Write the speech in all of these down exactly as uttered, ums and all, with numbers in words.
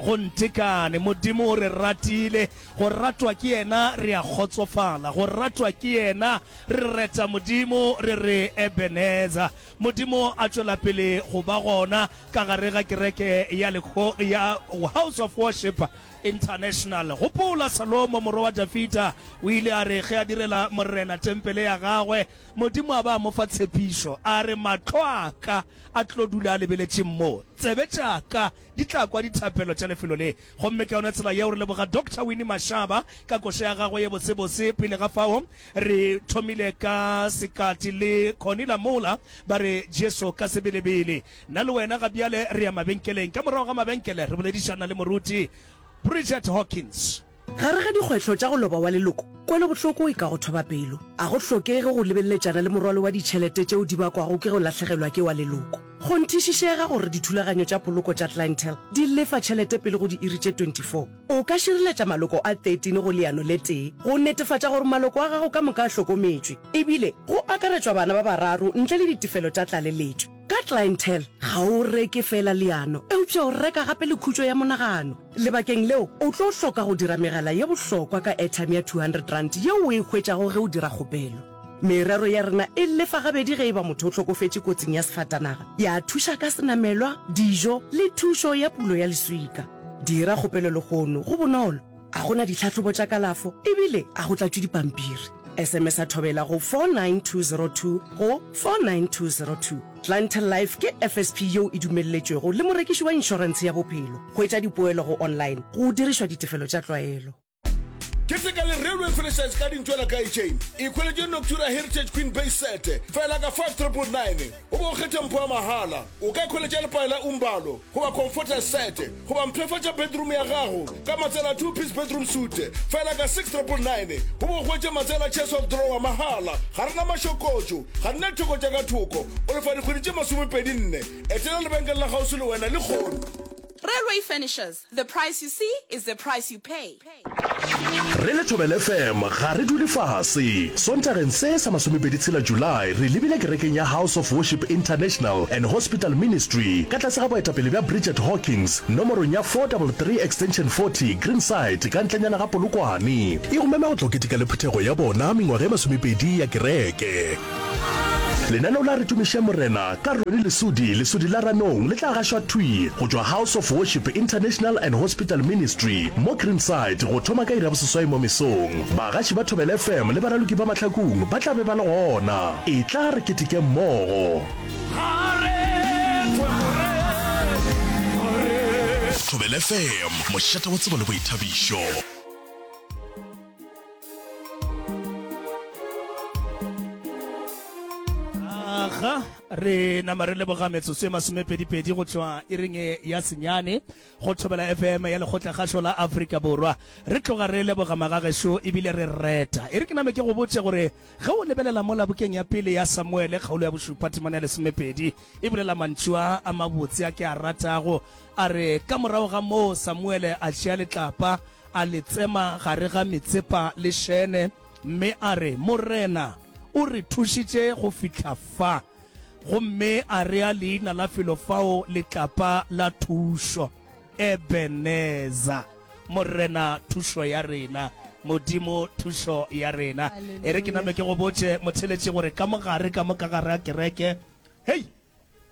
Go ntekane. Modimo o re ratile. Go ratwa ke Yena re a kgotsofala. Go ratwa ke Yena re reta Modimo re re Ebenezer. Modimo a tšwela pele go ba gona ka gare ga kereke ya lekgo ya House of Worship International. Gopola Salomo morwa wa Dafida o ile a re ge a direla Morena tempele ya gagwe, Modimo a ba a mo fa tshepišo, a re, Mahlo a ka a tlo dula a lebeletše mo, tsebe tša ka di tla kwa dithapelo tša lefelo le. Gomme ka yona tsela yeo re leboga Doctor Winnie Mashaba ka koša ya gagwe ye bosebose. Pele ga fao re thomile ka Sekati le Connie Lamola ba re Jesu ka sebelebele. Nna le wena ga bjale re ya mabenkeleng. Ka morago ga mabenkele re boledišana le Moruti Bridget Hawkins. Gare ga dikgwetlho tša go loba wa leloko, kwelobohloko e ka go thoba pelo. A go hlokege go lebeleletšana le morwalo wa ditšhelete tšeo di bakwago ke go lahlegelwa ke wa leloko. Kgonthišišega gore dithulaganyo tša poloko tša Clientele di lefa tšhelete pele go diiri tše twenty four. O ka šireletša maloko a thirteen go leano le tee go netefatša gore maloko a gago ka moka a hlokometšwe, ebile go akaretšwa bana ba bararo ntle le ditefelo tša tlaleletšo. Ka Clientele, ga o reke feela leano, eupša o reka gape le khutšo ya monagano. Lebakeng leo, o tlo hloka go dira megala ye bohlokwa ka airtime ya two hundred rand yeo o e hwetšago ge o dira kgopelo. Merero ya rena e lefa gabedi ge e ba motho o hlokofetše kotsing ya sefatanaga, ya thuša ka senamelwa, dijo le thušo ya pulo ya leswika. Dira kgopelo lehono, go bonolo, ga go na ditlhahlobo tša kalafo ebile ga go tlatšwe dipampiri. S M S a Thobela go four nine two zero two go four nine two zero two. Clientele Life ke F S P yeo e dumelletšwego le morekiši wa inšorentshe ya bophelo. Hwetša dipoelo go online go dirišwa ditefelo tša tlwaelo. Keteka le Railway Furnishers ka dintwela ka chain. Ikhweletše Noctura Heritage Queen Base Set fela ka five triple nine goba o kgethe mpho ya mahala. O ka ikhweletša lepae la Umbalo goba Comforter Set goba mpshafatša bedroom ya gago ka matsela a two piece bedroom suite fela ka six triple nine goba o hwetše matsela a chest of drawer mahala. Ga re na mašokotšo, ga re na ditheko tša ka thoko. O lefa dikgwedi tše masomepedi nne. Etela lebenkele la kgauswi le wena lehono. Railway Furnishers, the price you see is the price you pay. Re le Thobela F M ga re dule fase. Sontageng se sa masomepedi tshela July re lebile kerekeng ya House of Worship International and Hospital Ministry ka tlase ga boetapele bja Bridget Hawkins nomorong ya four double three Extension forty Greenside ka ntlenyana ga Polokwane. E go mema go tlo keteka le phuthego ya bona mengwaga e masomepedi ya kereke. Lenaneo la Re Tumiše Morena ka Ronnie Lesodi, Lesodi la Ranong, le tla gašwa thwi go tšwa House of Worship International and Hospital Ministry mo Greenside go thoma ka iri ya boseswai mo mesong. Bagaši ba Thobela F M le baraloki ba Mahlakung ba tla be ba le gona. Etla re keteke mmogo. Thobela F M, mošate wa tsebo le boithabišo. Aga re nama re leboga metsotso e masomepedipedi go tšwa iring ya senyane go Thobela F M ya Lekgotlakgašo la Afrika Borwa. Re tloga re leboga magagešo ebile re reta. E re ke name ke go botše gore ge o lebelela mola bukeng ya pele ya Samuele kgaolo ya bošupa temana ya lesomepedi e bolela mantšu a a mabotse a ke a ratago, a re, Ka morago ga moo Samuele a tšea letlapa a le tsema gare ga Mitsepa le Shene mme a re, Morena o re thušitše go fihla fa. Gomme a rea leina la felo fao Letlapa la Thušo, Ebeneza. Morena thušo ya rena, Modimo thušo ya rena. E re ke name ke go botše, motheeletši, gore ka mo gare, ka mo ka gare ga kereke, hei,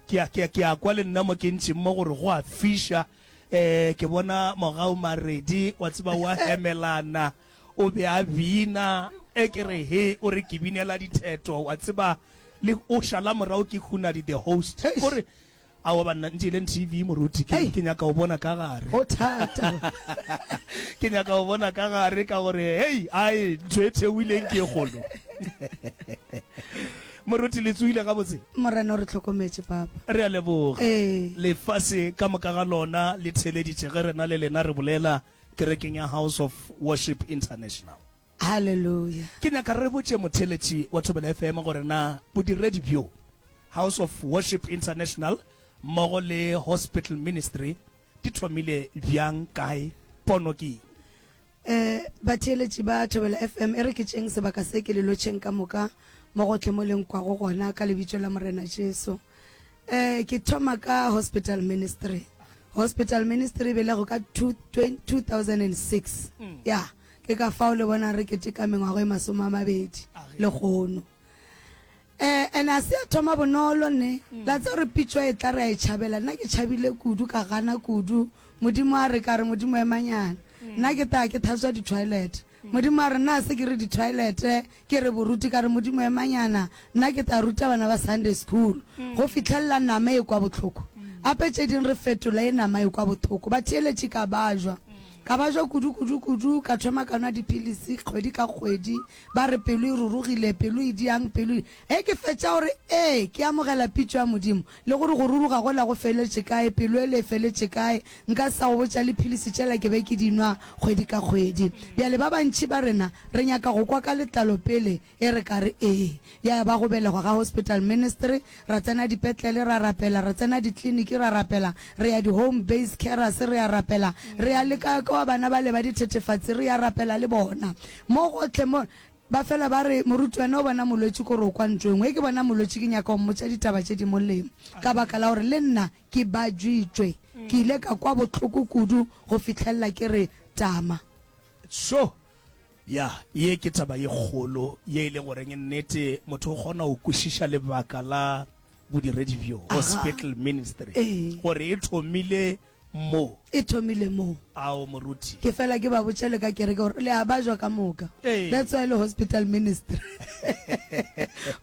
ke a, ke a, ke a kwa le nna mo ke ntšeng mo gore go a fiša. Eh, ke bona Mogau Maredi, wa tseba, o a hemelana, o be a bina, e ke re he, o re ke binela ditheto, wa tseba, le o šala morago ke Hunadi the host. O re, aowa banna, ntšeeleng T V moruti, ke, ke nyaka go bona ka gare. Go thata. Ke nyaka go bona ka gare ka gore, hei, ai, ntho e theohileng ke e kgolo. Moruti, le tsohile gabotse? Morena o re hlokometše, Papa. Re a leboga. Ee. Lefase ka moka ga lona le theeleditše ge rena le lena re bolela kerekeng ya House of Worship International. Haleluya. Ke nyaka re botše motheeletši wa Thobela F M gore na bodiredi bjo, House of Worship International mmogo le Hospital Ministry, di thomile bjang, kae, pono ke eng? Eh, batheeletši ba Thobela F M, e re ke tšeeng sebaka se ke le lotšheng ka moka mo gohle mo le nkwago gona ka lebitso la Morena Jesu. Eh, ke thoma ka Hospital Ministry. Hospital ministry e belego ka two thousand and six. Ya, ke ka fao le bona re keteka mengwaga e masome a mabedi lehono. Eh, and a se ya thoma bonolo ne. La tseba gore pitšo e tla re a e tšhabela. Nna ke tšhabile kudu, ka gana kudu. Modimo a re, ka re, Modimo emanyana. Nna ke tla ke thatswa di-toilet. Modimo a re, nna se ke re di-toilet, ke re boruti. Ka re, Modimo emanyana. Nna ke tla ruta bana ba Sunday school. Go fihlelela nama e kwa bohloko. Gape tše ding re fetola e nama e kwa bohloko. Batheeletši ka bajwa. Ka bajwa kudu, kudu, kudu, ka thoma ka nwa dipilisi kgwedi ka kgwedi. Ba re pelo e rurugile, pelo e diang, pelo e. Ge ke fetša gore ee, ke amogela pitšo ya Modimo, le gore go ruruga gola go feletše kae, pelo ele e feletše kae, nka se sa go botša le philisi tšela ke be ke di nwa kgwedi ka kgwedi. Bjale ba bantši ba rena re nyaka go kwa ka letlalo pele e re ka re ee. Ya ba go belegwa ga hospital ministry, ra tsena dipetlele ra rapela, ra tsena dikliniki ra rapela, re ya di-home based carers re ya rapela, re ya le ka kwa bana bale ba dithethefatsi re ya rapela le bona. Mo gohle mo ba fela ba re, Moruti wena o bona molwetši kore o kwa ntho e nngwe. Ge ke bona molwetši ke nyaka go mmotša ditaba tše di molemo ka baka la gore le nna ke bajitšwe. Ke ile ka kwa bohloko kudu go fihlelela ke re tama. Sho! Ya, ye ke taba ye kgolo ye e le goreng nnete motho o kgona go kwešiša lebaka la bodiredi bjo, hospital ministry, gore e thomile mo. E thomile mo. Ao, moruti. Ke fela ke ba botša le ka kereke gore le a bajwa ka moka. That's why le hospital ministry.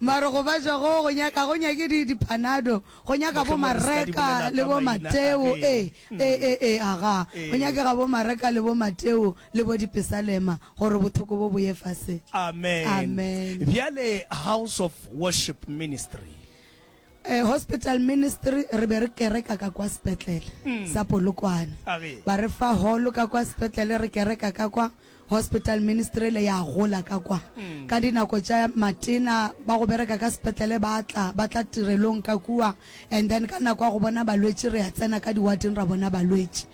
Mara go bajwa go go nyaka go nyake di di panado, go nyaka bo Mareka le bo Mateo, ee, ee, ee, ee, aga. Go nyakega bo Mareka le bo Mateo le bo Dipesalema gore bothoko bo bo ye fase. Amen. Amen. Bjale House of Worship Ministry. Eh, hospital ministry re be re kereka ka kwa sepetlele sa Polokwane. Ba re fa hall ka kwa sepetlele re kereka ka kwa. Hospital ministry le ya gola ka kwa. Ka dinako tša matena ba go bereka ka sepetlele ba tla, ba tla tirelong ka kua, and then ka nako ya go bona balwetši re ya tsena ka diwateng ra bona balwetši.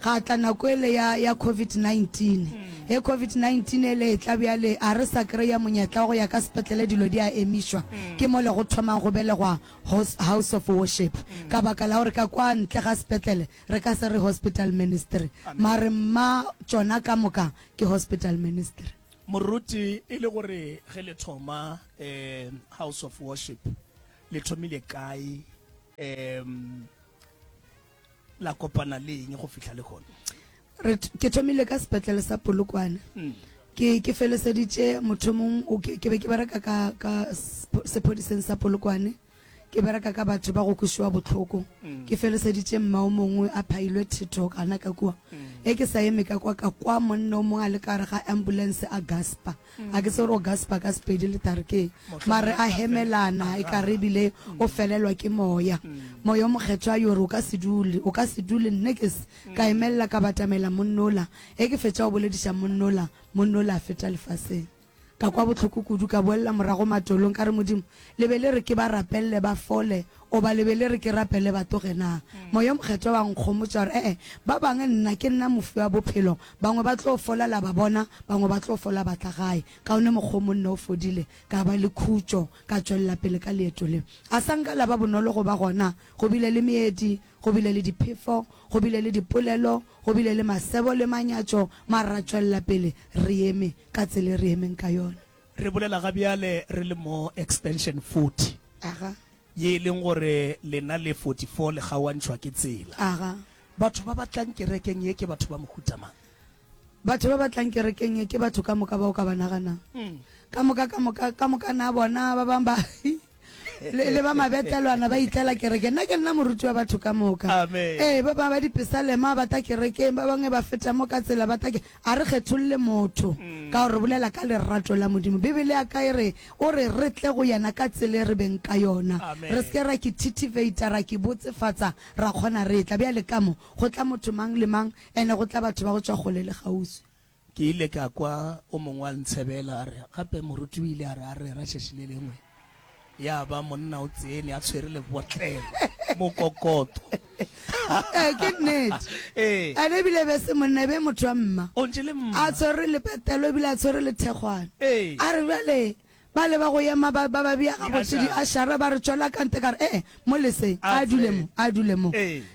Ga tla nako ele ya, ya covid nineteen. Ge covid nineteen ele e tla bjale a re sa kry-a monyetla wa go ya ka sepetlele, dilo di a emišwa. Ke mole go thomang go belegwa House of Worship. Ka baka la gore ka kwa ntle ga sepetlele re ka se re hospital ministry, mare mma tšona ka moka ke hospital ministry. Moruti, e le gore ge le thoma um House of Worship le thomile kae, um la kopana le eng go fihla le gona? Re, ke thomile ka sepetlele sa Polokwane. Ke, ke feleseditše mothomong, o, ke, ke be ke bereka ka, ka sephodiseng sa Polokwane. Ke bereka ka batho ba go kwešwa bohloko. Ke feleseditše mma o mongwe a phailwe thetho gana ka kua. Ge ke sa eme ka kwa, ka kwa monna o mongwe a le ka gare ga ambulance a gaspa. A ke tsebe gore o gaspa ka Sepedi le thari ke eng. Mare a hemelana e ka re ebile o felelwa ke moya. Moya o Mokgethwa yo re o ka se dule, o ka se dule. Nne ke se ka emelela ka batamela monnola. Ge ke fetša go bolediša monnola, monnola a feta lefaseng. Ka kwa bohloko kudu, ka boelela morago matolong, ka re, Modimo, le be le re ke ba rapelele ba fole, goba le be le re ke rapele ba tloge na? Moya o Mokgethwa wa nkgomotša wa re, E-e, ba bangwe nna ke nna mofi wa bophelo, bangwe ba tlo fola la ba bona, bangwe ba tlo fola ba tla gae. Kaone mokgwa o monna o fodile, ka ba le khutšo, ka tšwelela pele ka leeto le. A sa nka la ba bonolo go ba gona, go bile le meedi, go bile le diphefo, go bile le dipolelo, go bile le masebo le manyatšo, mara ra tšwelela pele re eme ka tsela e re emeng ka yona. Re bolela ga bjale re le mo Extension forty, Aga. ye e leng gore lena le forty-four le kgaoantšhwa ke tsela. Aga. Batho ba ba tlang kerekeng ye ke batho ba mohuta mang? Batho ba ba tlang kerekeng ye ke batho ka moka ba o ka ba naganang. Ka moka, ka moka, ka moka na bona ba bang ba le, le ba mabetlelwana ba itlela kerekeng. Nna ke nna moruti wa batho ka moka. Amen. Ee, ba bangwe ba dipesalema ba tla kerekeng, ba bangwe ba feta mo ka tsela ba tla ke-, a re kgetholle motho ka gore re bolela ka lerato la Modimo. Bibele ya ka e re, o re re tle go yena ka tsela e re beng ka yona. Amen. Re se ke ra ke thithiveita, ra ke botsefatsa, ra kgona re tla. Bjale ka mo, go tla motho mang le mang, ene go tla batho ba go tšwa kgole le kgauswi. Ke ile ka kwa o mongwe a ntshebela a re, gape moruti o ile a re a rera tšatši le lengwe, ya ba monna o tsene a tshwere lebotlelo mokokoto. Ee, ke nnete. Ee. Ene ebile be se monna, e be motho wa mma. O ntše le mma. A tshwere lepetelo ebile a tshwere lethekgwana. Ee. A re bjale Ba le ba go ema ba ba ba bea gabotse di-ashara ba re tšwela ka ntle ka re ee mo leseng a dule mo a dule mo.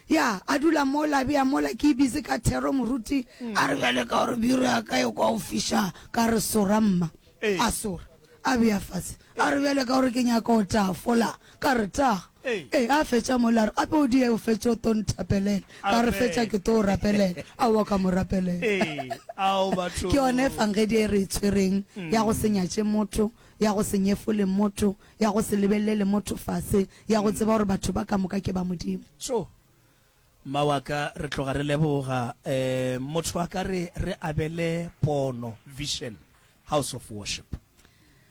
Ya a dula mola a bea mola ke busy ka thero moruti a re bjale ka gore biro ya ka e kwa o fiša ka re sora mma a sora a bea fase a re bjale ka gore ke nyaka o tafola ka re ta ee a fetša mola a re gape o die o fetše o to nthapelela ka re fetša ke to o rapelela aowa ka mo rapelela ke yona efangedi e re e tshwereng ya go se nyatše motho ya go se nyefole motho ya go se lebelele motho fase ya go tseba gore batho ba ka moka ke ba Modimo. Tjo mma wa ka re tloga re leboga um motho a ka re re abele pono vision house of worship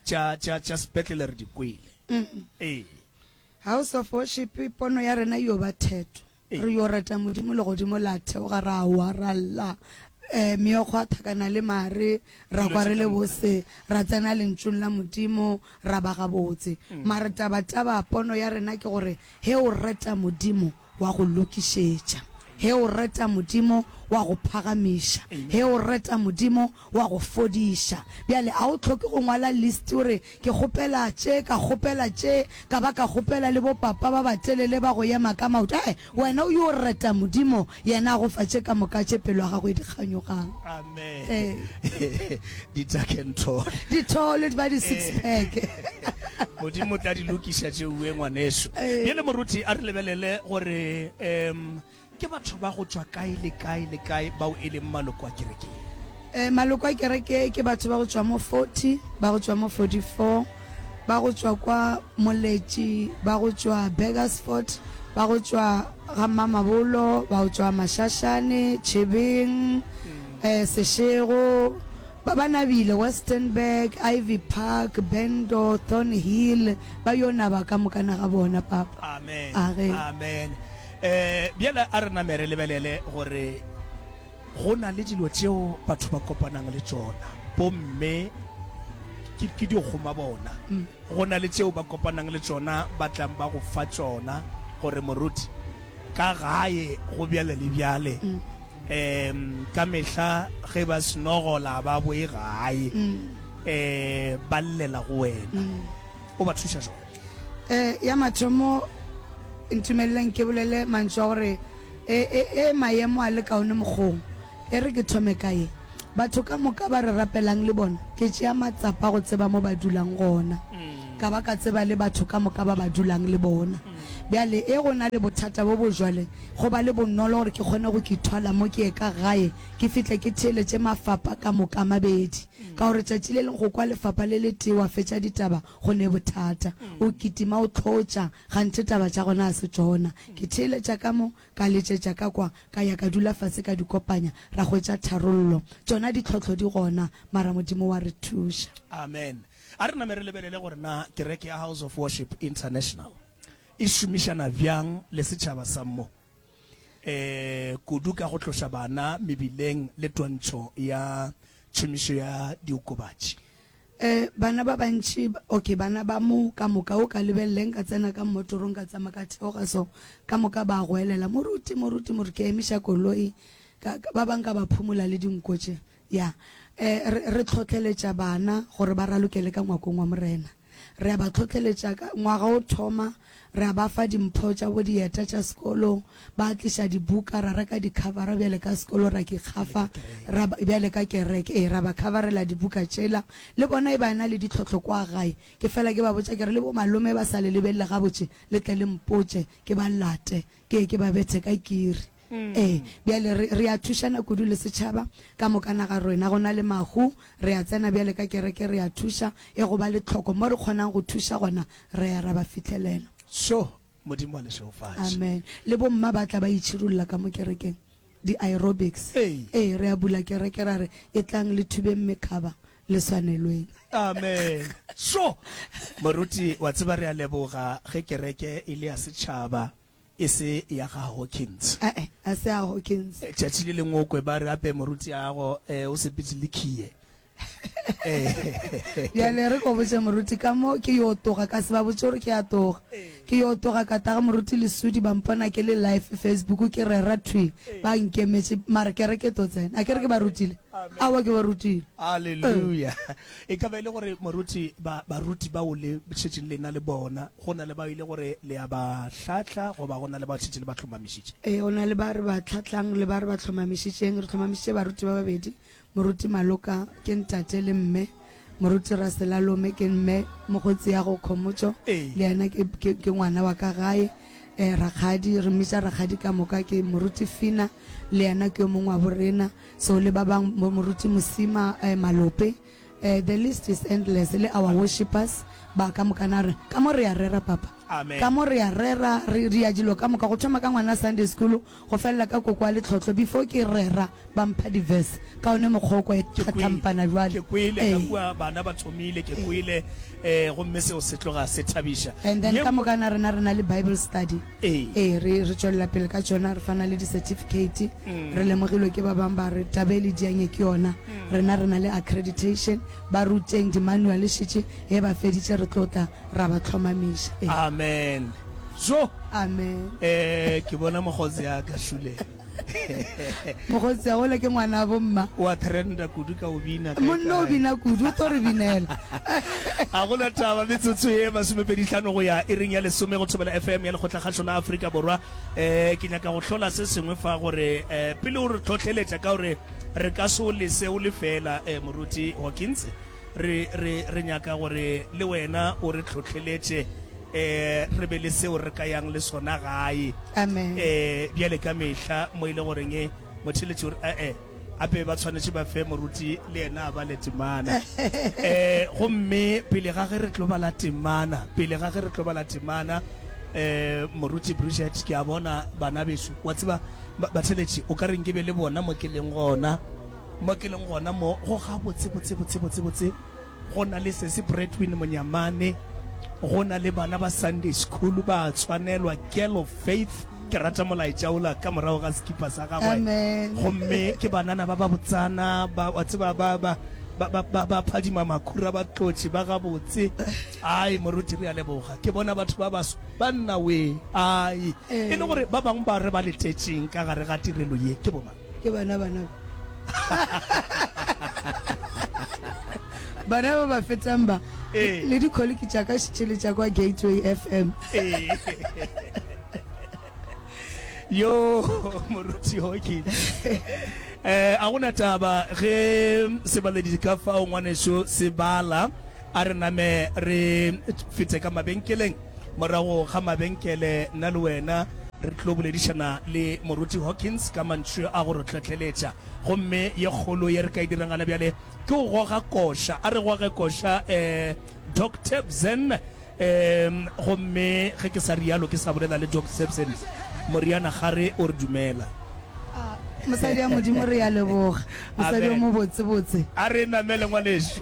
tša tša tša sepetlele re di kwele ee. House of worship pono ya rena yo ba theto re yo reta Modimo legodimo la theoga ra wa ra lla um meokgo a thakana le mare ra kwa re le bose ra tsena lentšung la Modimo ra ba gabotse mare taba taba pono ya rena ke gore he o reta Modimo wa go lokišetša he o reta Modimo wa go phagamiša he o reta Modimo wa go fodiša. Bjale a o hloke go ngwala list o re ke kgopela tše ka kgopela tše ka ba ka kgopela le bo papa ba batelele ba go ema ka maoto ae wena o yo reta Modimo yena a go fa tše ka moka tše pelo ya gago e di kganyogang. Amen. Ee. Di tuck and tall. Di tall di ba di six pack. Modimo o tla di lokiša tšeuwe ngwaneso. Bjale moruti a re lebelele gore um ke batho ba go tšwa kae le kae le kae bao e leng maloko a kereke ye? Eh, maloko a kereke ke batho ba go tšwa mo forty, ba go tšwa mo forty four, ba go tšwa kwa Moletši, ba go tšwa Burgersfort, ba go tšwa ga Mmamabolo, ba go tšwa Mashashane, Chebeng, eh, Seshego, ba ba nabile, Westenburg, Ivy Park, Bendo, Thornhill, ba yo naba ka mokana ga bona, Papa. Amen. Age. Amen. Eh, bjale a re name re lebelele gore go na le dilo tšeo batho ba kopanang le tšona bomme ke ke dikgoma bona go na le tšeo ba kopanang le tšona ba tlang ba go fa tšona gore moruti ka gae go bjale le bjale um ka mehla ge ba senogola ba boe gae um ba llela go wena o ba thuša jwang? Eh, ya mathomo ntumeleleng ke bolele mantšu a gore e, e, e maemo a le kaone mokgong. E re ke thome ka ye. Batho ka moka ba re rapelang le bona, ke tšea matsapa go tseba mo ba dulang gona. Ka ba ka tseba le batho ka moka ba ba dulang le bona. Bjale e go na le bothata bo bo jwale, go ba le bonolo gore ke kgone go ki thwala mo ke ye ka gae, ke fihle ke theeletše mafapa ka moka a mabedi. Ka gore tšatši le leng go kwa lefapa le letee wa fetša ditaba go ne bothata. O kitima o hlotša, ganthe taba tša gona ga se tšona. Ke theeletša ka mo, ka letšetša ka kwa, ka ya ka dula fase ka di kopanya, ra hwetša tharollo. Tšona ditlhohlo di gona, mara Modimo wa re thuša. Amen. A re name re lebelele gore na kereke ya House of Worship International e šomišana bjang le setšhaba sa mo, eh, kudu ka go tloša bana mebileng le twantšho ya tšhomišo ya diokobatši. Eh, bana ba bantši, okay, bana ba mo ka moka, o ka lebelele nka tsena ka mmotorong ka tsamaya ka theoga so, ka moka ba goelela, moruti, moruti, moruti, ke emiša koloi, ka, ka, ba bang ka ba phumola le dinko tše. Ya, eh, re, re tlhohleletša bana gore ba ralokele ka ngwakong wa Morena. Re a ba tlhohleletša ka ngwaga o thoma, re a ba fa dimpho tša bo dieta tša sekolo, ba tliša dibuka, ra reka di-covera bjale ka sekolo, ra ki kgafa, ra ba, bjale ka kereke, ee, ra ba coverela dibuka tšela. Le bona e ba na le ditlhohlo kwa gae, ke fela ke ba botša ke re le bo malome ba sa le lebelele gabotse, le tle le mpotše, ke ba late, ke ye ke ba bethe ka kiri. Ee, bjale re, re a thušana kudu le setšhaba ka moka naga rena. Go na le mahu, re a tsena bjale ka kereke, re a thuša, e go ba le tlhoko. Mo re kgonang go thuša gona, re ya ra ba fihlelela. Sho, Modimo a le šegofatše. Amen. Le bomma ba tla ba itšhirulla ka mo kerekeng, di-aerobics. Ee. Ee, re a bula kereke ra re, Etlang le thubeng mekhaba, le swanelweng. Amen. Sho, moruti, wa tseba re a leboga ge kereke e le ya setšhaba. E se ya ga Hawkins. Ae, a se ya Hawkins. Tšatši le lengwe o kwe ba re ape morutiago eh, o sepetše le khiye. Bjale re ko botše moruti ka mo ke yo toga, ka se ba botše gore ke a toga. Ke yo toga ka taga moruti Lesudi ba mpona ke le live Facebook ke rera thwi ba nkemetše mara kereke to tsena. A ke re ke ba rutile. Aowa ke ba rutile. Haleluya. E ka ba e le gore moruti, ba, baruti bao le šetšeng le na le bona, go na le bao e le gore le a ba hlahla goba go na le bao šetše le ba hlomamišitše? Ee, go na le ba re ba hlahlang le ba re ba hlomamišitšeng. Re hlomamišitše baruti ba babedi, Moruti Maloka ke ntate le mme, Moruti Raselalome ke mme, mokgotsi ya go Khomotšo Ee. le yena ke, ke, ke ngwana wa ka gae. Eh, rakgadi, re mmitša rakgadi ka moka, ke Moruti Fina, le yena ke yo mongwe wa borena. So le ba bang, bo Moruti Mosima, eh, Malope, eh, the list is endless, le our worshippers, ba ka moka na re, ka mo re a rera, Papa. Amen. Ka mo re a rera, re ria dilo ka moka, go thoma ka ngwana Sunday school, go felela ka koko wa letlotlo. Before ke rera, ba mpha di-verse, ka one mokgwa o kwa e Ke kwele, tlhatlampana bjale. ke kwele ka Ee. kua bana ba thomile, ke kwele, eh, gomme seo se tloga se thabiša. And then Ye ka nngwe, moka na rena re na le Bible study. Ee. Ee, re, re tšwelela pele ka tšona, re fana le di-certificate. Re lemogilwe ke ba bang ba re taba e le dianye ke yona. Rena re na le accreditation, ba ruteng di-manual šetše, ge ba feditše re tlo tla ra ba hlomamiša. Ee. Amen. Jo! Amen. Eh, ke bona mokgotsi ya ka šule. Mokgotsi ya gole ke ngwana bo mma. Wa trenda kudu ka o bina kae Monna o kae. bina kudu, o tlo re binela. A gona taba, metsotso ye masomepedi hlano go ya iring ya lesome go Thobela F M ya Lekgotlakgašo la Afrika Borwa. Eh, ke nyaka go hlola se sengwe fa gore eh, pele o re hlohleletša ka gore re ka se o lese o le fela, eh, Moruti Hawkins, re, re, re nyaka gore le wena o re hlohleletše, eh, re be le seo re ka yang le sona gae. Amen. Eh, bjale ka mehla mo e le goreng e motheletši o re, eh, eh, ape ba tshwanetše ba fe moruti le yena a bale temana. Eh, gomme pele ga ge re tlo bala temana, pele ga ge re tlo bala temana, eh, moruti Bridget, ke a bona bana bešo, wa tseba, ba-, batheletši, o ka re nke be le bona mo ke leng gona, mo ke leng gona mo, go ga botse, botse, botse, botse, botse, go na le sesi Bradwin Monyamane, go na le bana ba Sunday school ba tshwanelwa, Girl of Faith, ke rata molaetša ola ka morago ga sekipa sa gagwe. Amen. Gomme ke banana ba ba botsana, ba, wa tseba, ba, ba, ba, ba, ba, ba phadima makhura, ba tlotše, ba gabotse. Ai, moruti, re a leboga. Ke bona batho ba baso, ba nna we. Ai. E le gore ba bangwe ba re ba letetšeng ka gare ga tirelo ye, ke bomang? Ke bana bana ba. Bana ba ba fetang ba. Ee. Le dikholiki tša ka šetše le tša kwa Gateway F M. Ee. Yo, moruti Hawkins. Eh, a gona taba ge sebaledi ka fao ngwaneso se bala, a re name re fete ka mabenkeleng. Morago ga mabenkele, nna le wena re tlo boledišana le moruti Hawkins ka mantšu a go re hlohleletša. Gomme ye kgolo ye re ka e dirang gana bjale ke go goga koša. A re goge koša, eh, Doc Tebsen. Um, gomme ge ke sa rialo, ke sa bolela le Doc Tebsen, Moriana Gare o re dumela. Ah, mosadi ya Modimo, re ya leboga. Mosadi o Amen. mobotsebotse. A re namele ngwanešu.